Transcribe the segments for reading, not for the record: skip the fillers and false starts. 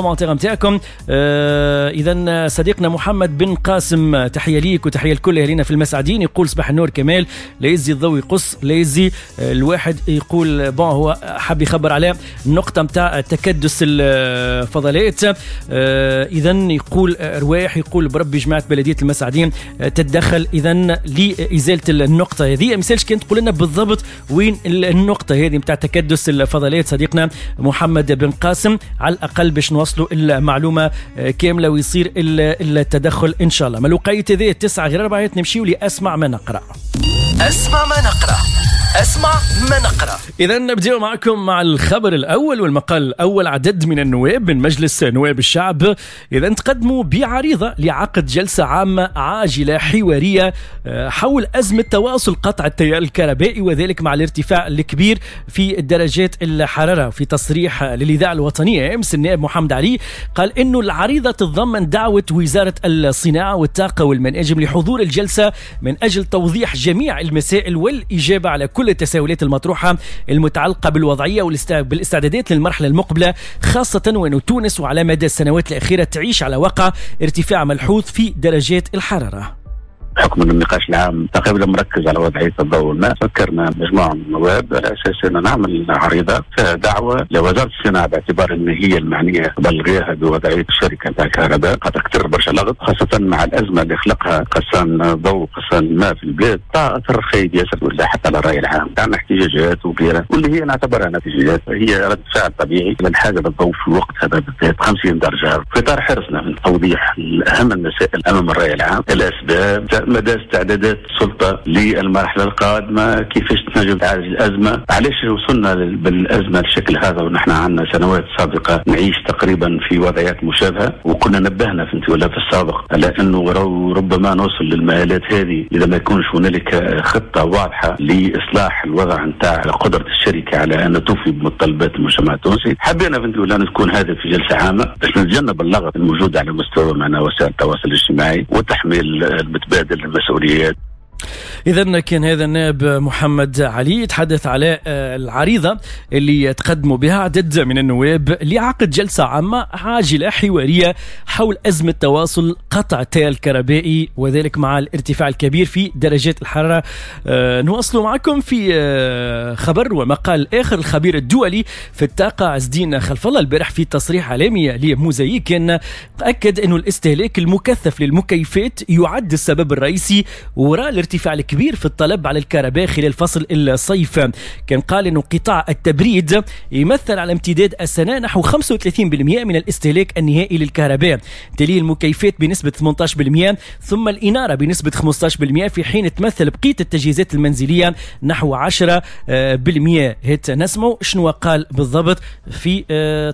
commentaires نتاعكم. اذا صديقنا محمد بن قاسم، تحية ليك وتحية لكل اهلنا في المسعدين. يقول صباح النور كمال، لا يزي الضوء يقص، لا يزي الواحد يقول bon هو حاب يخبر على النقطة نتاع تكدس الفضلات. اذا يقول رواح، يقول بربي جماعة بلديه المسعدين تتدخل اذا لازالة النقطة هذه. مثالش كان تقول لنا بالضبط وين النقطة هذه نتاع تكدس الفضلات صديقنا محمد بن قاسم، على الاقل باش نوصلوا المعلومة كاملة ويصير التدخل ان شاء الله. ما الوقيت هذه 8:45 نمشيو لاسمع ما نقرا. اسمع ما نقرا، اسمع ما نقرا. اذا نبداو معكم مع الخبر الاول والمقال الاول. عدد من النواب من مجلس نواب الشعب اذا تقدموا بعريضه لعقد جلسه عامة عاجله حوارية حول ازمة تواصل قطع التيار الكهربائي، وذلك مع الارتفاع الكبير في درجات الحرارة. في تصريح للاذاعة الوطنية امس النائب محمد علي قال انه العريضة تتضمن دعوه وزارة الصناعة والطاقة والمناجم لحضور الجلسة من اجل توضيح جميع المسائل والاجابة على كل التساؤلات المطروحة المتعلقة بالوضعية وبالاستعدادات للمرحلة المقبلة، خاصة وأن تونس وعلى مدى السنوات الأخيرة تعيش على وقع ارتفاع ملحوظ في درجات الحرارة. بحكم ان النقاش العام تقريبا مركز على وضعية الضوء والماء، فكرنا مجموعة من النواب على اساس ان نعمل عريضة فيها دعوه لوزارة الصناعة باعتبار ان هي المعنية قبل غيرها بوضعيه الشركة نتاع الكهرباء، خاطر كثر برشا لغط خاصة مع الازمة اللي خلقها قصان الضوء وقصان الماء في البلاد، اثر خايب ياسر ولا حتى على الراي العام. عندنا احتجاجات وغيرها واللي هي نعتبرها احتجاجات هي رد فعل طبيعي للحاجة للضوء في الوقت هذا بالذات 50 درجه. في اطار حرصنا من توضيح اهم المسائل امام الراي العام، الاسباب، مدى استعدادات السلطة للمرحلة القادمة، كيفاش تنجم تعالج الازمة، علاش وصلنا بالازمه بالشكل هذا ونحن عندنا سنوات سابقه نعيش تقريبا في وضعيات مشابهة، وكنا نبهنا في ولا في السابق على انه ربما نوصل للمآلات هذه اذا ما يكونش هنالك خطه واضحة لاصلاح الوضع نتاع قدره الشركة على ان توفي بمتطلبات المجتمع التونسي. حبينا فهمتي ولا تكون هذا في جلسه عامة باش نتجنب اللغط الموجود على مستوى معنا وسائل التواصل الاجتماعي والتحميل المتبادل المسؤوليات. إذا كان هذا النائب محمد علي يتحدث على العريضة اللي تقدموا بها عدد من النواب لعقد جلسة عامة عاجلة حوارية حول أزمة تواصل قطع التيار الكهربائي، وذلك مع الارتفاع الكبير في درجات الحرارة. نواصل معكم في خبر ومقال آخر. الخبير الدولي في الطاقة عز الدين خلف الله البارح في تصريح إعلامي لموزايك كان أكد أنه الاستهلاك المكثف للمكيفات يعد السبب الرئيسي وراء الارتفاع الكبير في الطلب على الكهرباء خلال فصل الصيف. كان قال أنه قطاع التبريد يمثل على امتداد السنة نحو 35% من الاستهلاك النهائي للكهرباء، تليه المكيفات بنسبة 18%، ثم الإنارة بنسبة 15%، في حين تمثل بقية التجهيزات المنزلية نحو 10%. هات نسمعوا شنو قال بالضبط في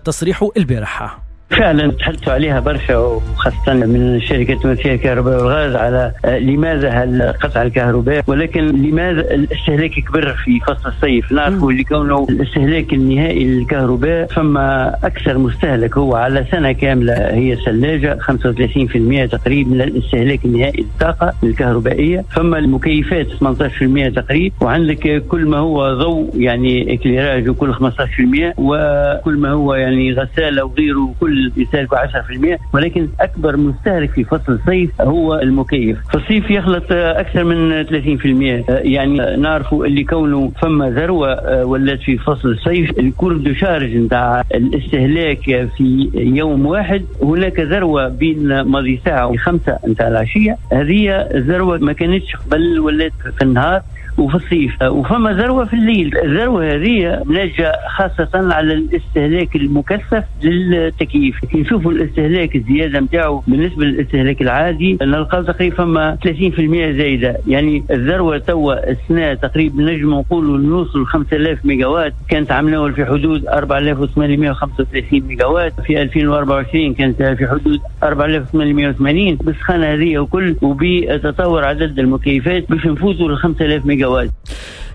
تصريحه البارحة. فعلا تحدثوا عليها برشا، وخاصة من شركة تونسية للكهرباء والغاز على لماذا قطع الكهرباء، ولكن لماذا الاستهلاك كبر في فصل الصيف. نعرفوا اللي كونه الاستهلاك النهائي للكهرباء فما أكثر مستهلك هو على سنة كاملة هي الثلاجة 35% تقريبا من الاستهلاك النهائي للطاقة الكهربائية، فما المكيفات 18% تقريبا، وعندك كل ما هو ضوء يعني éclairage وكل 15%، وكل ما هو يعني غسالة وغيره كل يستهلكوا 10%. ولكن أكبر مستهلك في فصل الصيف هو المكيف. في الصيف يخلط أكثر من 30%. يعني نعرفوا اللي كونه فما ذروة ولات في فصل الصيف، ال courbe de charge نتاع الاستهلاك في يوم واحد هناك ذروة بين ماضي ساعة و5 نتاع العشية، هذه الذروة ما كانتش قبل، ولات في النهار وفي الصيف، وفما ذروة في الليل. الذروة هذه ناتجة خاصة على الاستهلاك المكثف للتكييف. كي نشوفوا الاستهلاك الزيادة نتاعو بالنسبة للاستهلاك العادي نلقاو تقريبا فما 30% زايدة. يعني الذروة توا السنة تقريبا نجم نقولوا نوصل 5000 ميجاوات، كانت عملناها في حدود 4835 ميجاوات، في 2024 كانت في حدود 4880 بالسخانة هذه وكل، وبتطور عدد المكيفات باش نفوتوا ل 5000 ميجاوات.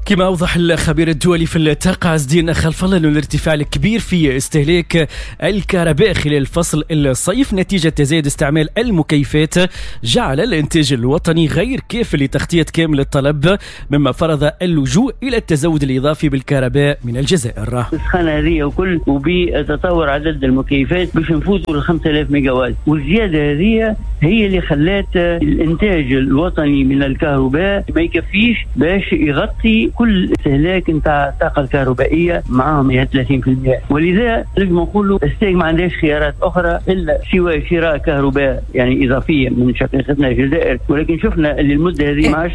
كما أوضح الخبير الدولي في الطاقة عز الدين خلف الله أن الارتفاع الكبير في استهلاك الكهرباء خلال فصل الصيف نتيجة تزايد استعمال المكيفات جعل الإنتاج الوطني غير كاف لتغطية كامل الطلب، مما فرض اللجوء إلى التزود الإضافي بالكهرباء من الجزائر. السخانة هذه وكل وبتطور عدد المكيفات باش نفوتوا ل 5000 ميجا وات، والزيادة هذه هي اللي خلات الإنتاج الوطني من الكهرباء ما يكفيش باش يغطي كل استهلاك نتاع الطاقة الكهربائية معاهم هي 30%. ولذا لازم نقولوا الستاغ ما عندهاش خيارات اخرى الا سوى شراء كهرباء يعني اضافية من شقيقتنا الجزائر، ولكن شفنا اللي المدة هذه ما عادش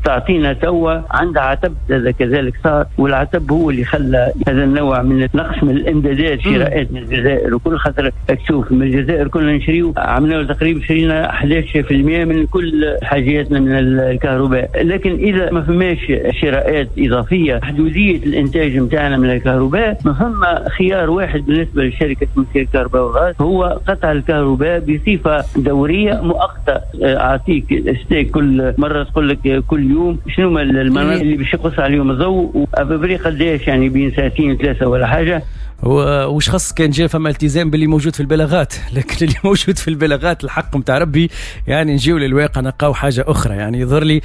تعطينا توا عندها عتب، هذا كذلك صار، والعتب هو اللي خلى هذا النوع من نقص من الامدادات شراءات من الجزائر وكل، خاطر تشوف من الجزائر كنا نشريو عملنا تقريبا شرينا 11% من كل حاجياتنا من الكهرباء، لكن اذا ما فماش شراءات إضافية حدودية الإنتاج متاعنا من الكهرباء ما فما خيار واحد بالنسبة لشركة تونسية الكهرباء والغاز هو قطع الكهرباء بصفة دورية مؤقتة. أعطيك ستاغ كل مرة تقول لك كل يوم شنو المناطق اللي باش يقص عليهم الضوء و à peu près قداش، يعني بين ساعتين ثلاثة ولا حاجة. وش خص كان جاء فما التزام باللي موجود في البلاغات، لكن اللي موجود في البلاغات الحق متاع ربي يعني نجيو للواقع نلقاو حاجة اخرى. يعني يظهر لي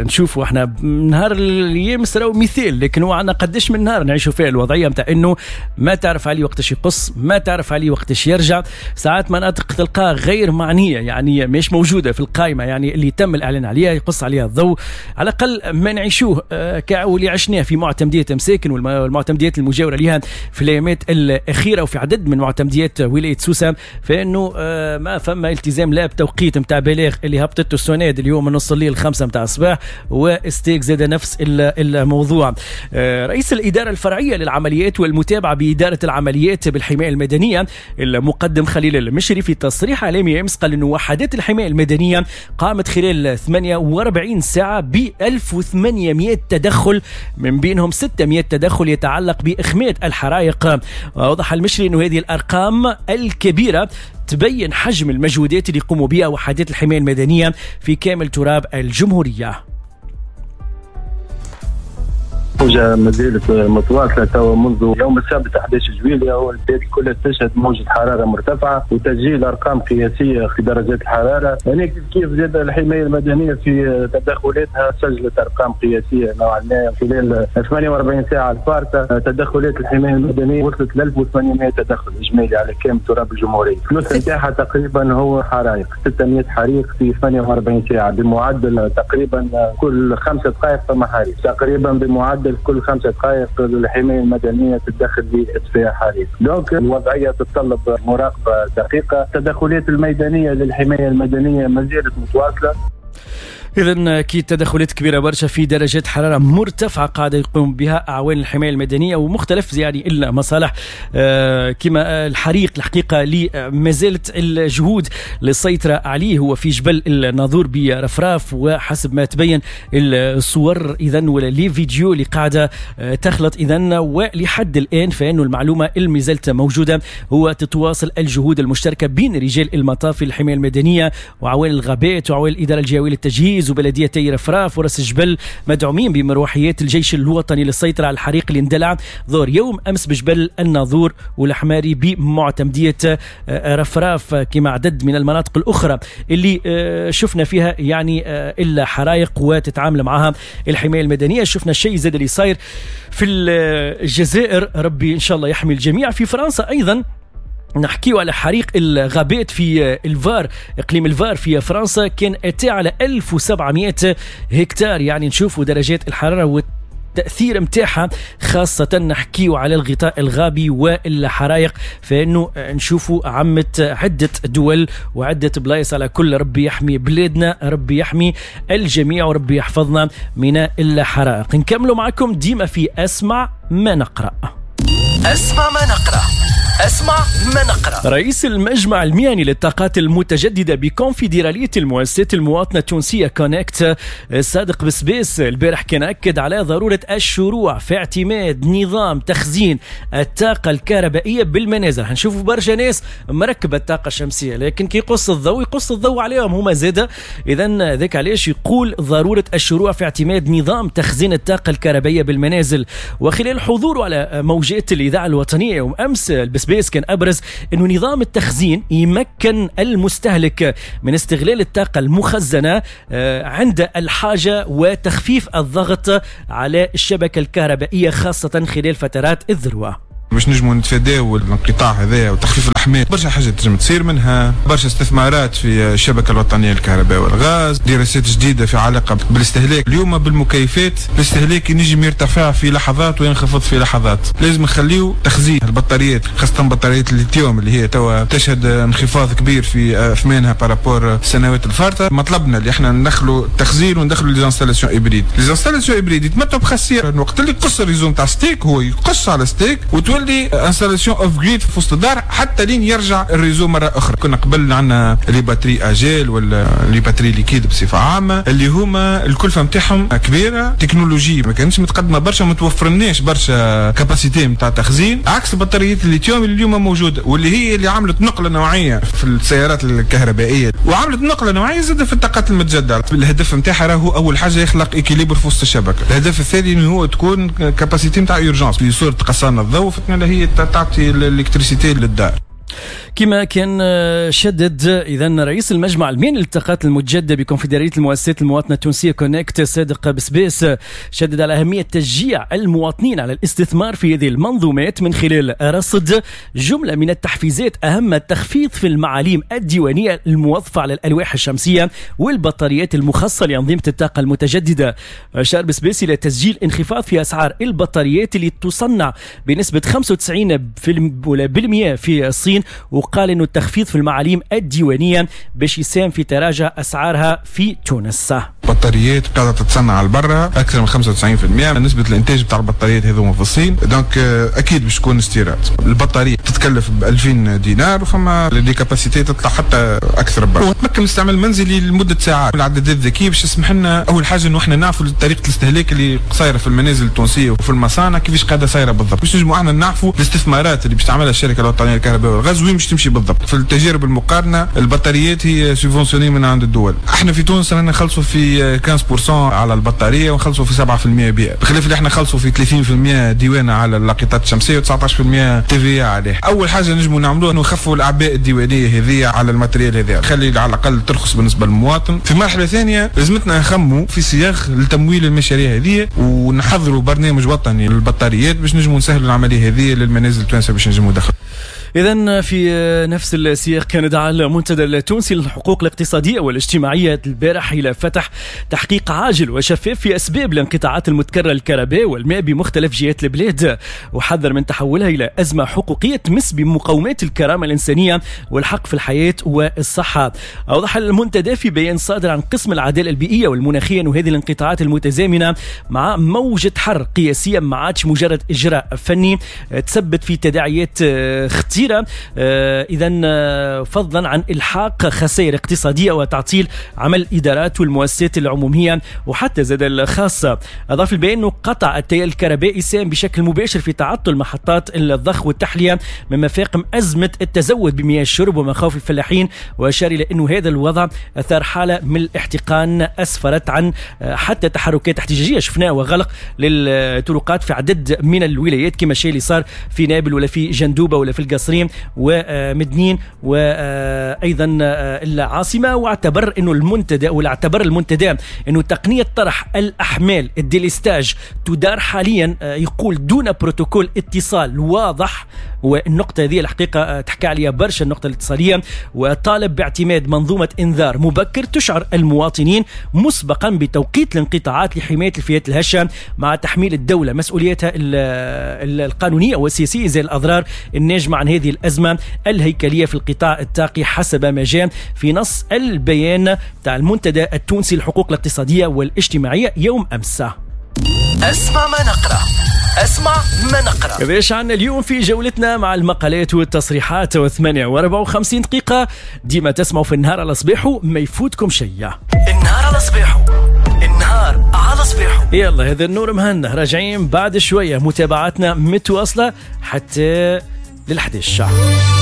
نشوفوا احنا نهار الايام راهو مثال، لكن هو عندنا قداش من نهار نعيشوا فيه الوضعية متاع انه ما تعرف عليه وقتاش يقص، ما تعرف عليه وقتاش يرجع. ساعات مناطق تلقاها غير معنية يعني مش موجودة في القائمة، يعني اللي تم الاعلان عليها يقص عليها الضوء. على الاقل ما نعيشوه واللي عشناه في معتمديه مساكن والمعتمديات المجاورة لها في الايامات الاخيرة وفي عدد من معتمديات ولاية سوسة، فانه ما فما التزام لا بتوقيت نتاع بلاغ اللي هبطته السوناد اليوم من نص الليل 5 نتاع الصباح، وستاغ زاد نفس الموضوع. رئيس الادارة الفرعية للعمليات والمتابعة بادارة العمليات بالحمايه المدنية المقدم خليل المشري في تصريح اعلامي امس قال انه وحدات الحماية المدنية قامت خلال 48 ساعة ب 1800 تدخل، من بينهم 600 تدخل يتعلق باخماد الحرائق. وأوضح المشري أن هذه الأرقام الكبيرة تبين حجم المجهودات اللي يقوموا بها وحدات الحماية المدنية في كامل تراب الجمهورية. موجة ما زالت متواصلة توا منذ يوم السبت 11 جويلية، والبلاد كلها تشهد موجة حرارة مرتفعة وتسجيل أرقام قياسية في درجات الحرارة. يعني كيف زاد الحماية المدنية في تدخلاتها سجلت أرقام قياسية نوعا ما خلال 48 ساعة الفارطة. تدخلات الحماية المدنية وصلت ل 1800 تدخل إجمالي على كامل تراب الجمهورية. الثلث نتاعها تقريبا هو حرائق، 600 حريق في 48 ساعة بمعدل تقريبا كل 5 دقائق فما حريق، تقريبا بمعدل كل 5 دقائق الحماية المدنية تتدخل لإطفاء حريق. donc الوضعية تتطلب مراقبة دقيقة. التدخلات الميدانية للحماية المدنية ما زالت متواصلة. إذن أكيد تدخلات كبيرة برشا في درجات حرارة مرتفعة قاعدة يقوم بها أعوان الحماية المدنية ومختلف يعني المصالح، كما الحريق الحقيقة اللي ما زالت الجهود للسيطرة عليه هو في جبل الناظور برفراف، وحسب ما تبين الصور إذن ولا les vidéos اللي قاعدة تخلط إذن، ولحد الآن فإنه المعلومة اللي ما زالت موجودة هو تتواصل الجهود المشتركة بين رجال المطافي الحماية المدنية وعوان الغابات وعوان الإدارة الجهوية للتجهيز وبلديتي رفراف ورأس الجبل، مدعومين بمروحيات الجيش الوطني للسيطرة على الحريق اللي اندلع ظهر يوم أمس بجبل الناظور والحماري بمعتمدية رفراف، كما عدد من المناطق الأخرى اللي شفنا فيها يعني إلا حرائق وتتعامل معها الحماية المدنية. شفنا الشيء زاد اللي صاير في الجزائر، ربي إن شاء الله يحمي الجميع. في فرنسا أيضا نحكيو على حريق الغابات في الفار، اقليم الفار في فرنسا، كان اتى على 1700 هكتار. يعني نشوفوا درجات الحرارة والتأثير متاعها، خاصة نحكيو على الغطاء الغابي والحرائق، فإنه نشوفوا عمت عدة دول وعدة بلايص. على كل ربي يحمي بلادنا، ربي يحمي الجميع، وربي يحفظنا من الحرائق. نكملوا معكم ديما في أسمع ما نقرأ. أسمع ما نقرأ. اسمع ما نقرأ. رئيس المجمع المهني للطاقات المتجددة بكونفدرالية المؤسسات المواطنة التونسية كونكت صادق بسبيس البارح كان أكد على ضرورة الشروع في اعتماد نظام تخزين الطاقة الكهربائية بالمنازل. هنشوفوا برشا ناس مركبة الطاقة الشمسية، لكن كي يقص الضوء يقص الضوء عليهم هما زادة. إذا ذاك علاش يقول ضرورة الشروع في اعتماد نظام تخزين الطاقة الكهربائية بالمنازل. وخلال حضوره على موجات الإذاعة الوطنية يوم أمس البسبيس كان أبرز أنه نظام التخزين يمكن المستهلك من استغلال الطاقة المخزنة عند الحاجة وتخفيف الضغط على الشبكة الكهربائية خاصة خلال فترات الذروة. باش نجموا نتفاداو الانقطاع هذا وتخفيف الاحمال، برشا حاجات تنجم تصير، منها برشا استثمارات في الشبكة الوطنية للكهرباء والغاز، دراسات جديدة في علاقة بالاستهلاك. اليوم بالمكيفات الاستهلاك ينجم يرتفع في لحظات وينخفض في لحظات، لازم نخليو تخزين البطاريات، خاصة بطاريات الليثيوم اللي هي توا تشهد انخفاض كبير في اثمانها par rapport السنوات الفارطه. مطلبنا اللي احنا ندخلوا التخزين وندخلوا les installations hybrides. les installations hybrides يتمتعوا بخاصيه وقت اللي يقص ال réseau نتاع STEG، هو يقص على STEG وتولي installation off-grid في وسط الدار حتى لين يرجع ال réseau مرة اخرى. كنا قبل عندنا les batteries à gel ولا les batteries liquides بصفة عامة اللي هما الكلفة نتاعهم كبيرة، تكنولوجي ما كانتش متقدمة برشا، ما توفرناش برشا capacité نتاع تخزين، عكس بطاريات الليثيوم اللي اليوم موجودة واللي هي اللي عملت نقله نوعية في السيارات الكهربائية وعملت نقله نوعية زاد في الطاقات المتجددة. الهدف نتاعها راهو اول حاجة يخلق équilibre في وسط الشبكة، الهدف الثاني انه هو تكون capacité نتاع urgence في صوره قصان الضوء هي تعطي ال électricité للدار. كما كان شدد اذا رئيس المجمع المهني للطاقات المتجددة بكونفدراليه المؤسسات المواطنة التونسية كونكت صادق بسبيس شدد على اهمية تشجيع المواطنين على الاستثمار في هذه المنظومات من خلال رصد جملة من التحفيزات، اهم التخفيض في المعاليم الديوانيه الموظفة على الالواح الشمسية والبطاريات المخصصة لانظمه الطاقة المتجددة. اشار بسبيس الى تسجيل انخفاض في اسعار البطاريات اللي تصنع بنسبة 95% في الصين، وقال انه التخفيض في المعاليم الديوانيه باش يساهم في تراجع اسعارها في تونس. بطاريات قاعدة تتصنع على برا اكثر من 95% نسبه الانتاج بتاع البطاريات هذوما في الصين، donc اكيد باش تكون استيراد. البطارية تتكلف ب 2000 دينار وفما les capacités تطلع حتى اكثر برا، وتمكن الاستعمال المنزلي لمدة ساعات. العدادات الذكية باش تسمح لنا اول حاجة انه احنا نعرفوا طريقه الاستهلاك اللي صايرة في المنازل التونسية وفي المصانع كيفاش قاعدة صايرة بالضبط، باش نجموا احنا نعرفوا الاستثمارات اللي باش تعملها الشركة الوطنية للكهرباء والغاز وين باش تمشي بالضبط. في التجارب المقارنة البطاريات هي subventionnée من عند الدول، احنا في تونس رانا نخلصوا في 15% على البطارية ونخلصوا في 7% بيئة، بخلاف اللي احنا نخلصوا في 30% ديوانه على اللاقطات الشمسية و19% TVA عليه. اول حاجة نجموا نعملوها انه نخفوا الاعباء الديوانيه هذه على ال matériel هذا، خلي على الاقل ترخص بالنسبة للمواطن. في مرحلة ثانية لازمتنا نخموا في صياغ لتمويل المشاريع هذه ونحضروا برنامج وطني للبطاريات باش نجموا نسهلوا العملية هذه للمنازل التوانسة باش نجموا ندخلوا. إذن في نفس السياق كان دعا المنتدى التونسي للحقوق الاقتصادية والاجتماعية البارح إلى فتح تحقيق عاجل وشفاف في أسباب الانقطاعات المتكررة للكهرباء والماء بمختلف جهات البلاد، وحذر من تحولها إلى أزمة حقوقية تمس بمقومات الكرامة الإنسانية والحق في الحياة والصحة. أوضح المنتدى في بيان صادر عن قسم العدالة البيئية والمناخية أن هذه الانقطاعات المتزامنة مع موجة حر قياسية ما عادش مجرد إجراء فني، تسبب في تداعيات خطيرة، إذا فضلا عن إلحاق خسائر اقتصادية وتعطيل عمل الإدارات والمؤسسات العمومية وحتى زاد الخاصة. أضاف البيان أنه قطع التيار الكهربائي ساهم بشكل مباشر في تعطل محطات الضخ والتحلية مما فاقم أزمة التزود بمياه الشرب ومخاوف الفلاحين، وأشار إلى أنه هذا الوضع أثار حالة من الاحتقان أسفرت عن حتى تحركات احتجاجية شفناها وغلق للطرقات في عدد من الولايات كما الشيء اللي صار في نابل ولا في جندوبة ولا في القصرين ومدنين وايضا العاصمة. واعتبر انه المنتدى ولا اعتبر المنتدى انه تقنية طرح الاحمال ال délestage تدار حاليا يقول دون بروتوكول اتصال واضح، والنقطة هذه الحقيقة تحكي عليها برشا النقطة الاتصاليه، وطالب باعتماد منظومة انذار مبكر تشعر المواطنين مسبقا بتوقيت الانقطاعات لحماية الفئات الهشه مع تحميل الدولة مسؤوليتها القانونية والسياسية زي الاضرار الناجمة عن هذه الأزمة الهيكلية في القطاع الطاقي حسب ما جاء في نص البيان تاع المنتدى التونسي للحقوق الاقتصادية والاجتماعية يوم أمس. أسمع ما نقرأ. اسمع ما نقرا. باش عندنا اليوم في جولتنا مع المقالات والتصريحات 8:54 دقيقة. ديما تسمعوا في النهار على صباحه، ما يفوتكم شيء. النهار على صباحه، النهار على صباحه. يلا هذا النور مهنا، راجعين بعد شوية، متابعتنا متواصلة حتى لل11.